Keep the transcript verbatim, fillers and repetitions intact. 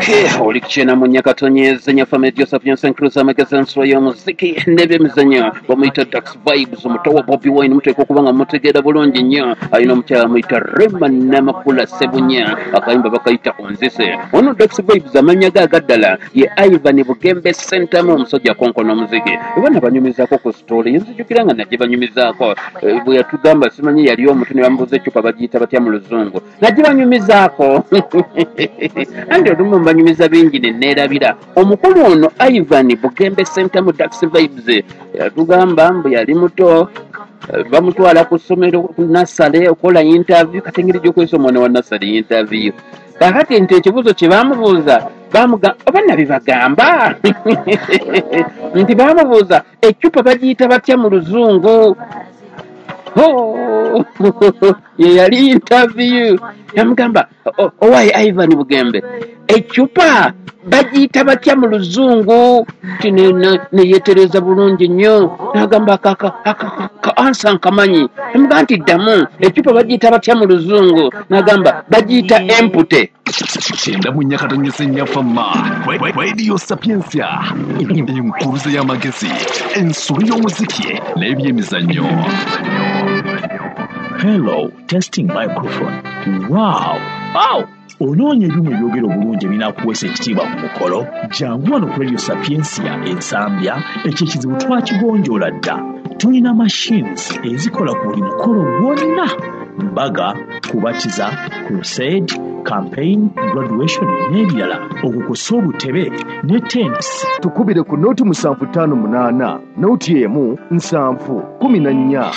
Okay, oli kukyena mu Nyakatonyeze Nyafame Joseph Johnson Cruz, amagezi, ensolo y'omuziki n'ebyemizannyo. Bamuyita Dax Vibes, omuto wa Bobi Wine. Muteekwa okuba nga mutegeera bulungi nnyo. Alina omukyala amuyita Rema Namakula Sebunya, akayimba bakayita Onzise. Ono Dax Vibes, amannya ge agaddala ye Ivan Bugembe Sentamu, omusajja akonkona omuziki. Eba nabanyumizaako ku story, nzijukira nga najje banyumizaako Eh, bwe yatugamba, simanyi yali omutu ne bamubuuza eccupa bagiyita batya mu Luzungu. Najje banyumizaako andi olumu mbanyumiza bingi ne neerabira. Omukulu ono Ivan Bugembe Sentamu Dax Vibes yatugamba mbu yali muto, eh, bamutwala ku ssomero ku nursery okukola interview. Kati engeri gy'okozesa omwana wa nursery interview? Kakati nti ekibuuzo kye bamubuuza, bamuga oba nabibagamba nti bamubuuza eccupa bagiyita batya mu Luzungu. Oh, ye yali interview. Yamugamba, "O- owaye Ivan Bugembe, eccupa bagiyita batya mu Luzungu?" Ti ne- ne- neyetereza bulungi nnyo, nagamba ka answer nkamanyi. Namugamba nti, "Ddamu, eccupa bagiyita batya mu Luzungu?" Nagamba, "Bagiyita empty." Kyenda mu Nyakatonyeze Nyafama, Radio Sapiensia, enkuluze y'amagezi, ensolo y'omuziki n'ebyemizannyo. Hello, testing microphone. Wow! Wow! Onoonya ebyuma ebyogera obulungi ebinaakuweesa ekitiibwa ku mukolo? Jangu wano ku Radio Sapiensia Ensambya, ekyo ekizibu twakigonjoola dda. Tulina machines ezikola ku buli mukolo gwonna: mbaga, kubatiza, crusade, campaign, graduation n'ebirala, okwo kw'ossa obutebe ne tents. Tukubire ku nooti musanvu ttaano munaana nooti emu nsanvu kumi na nnya.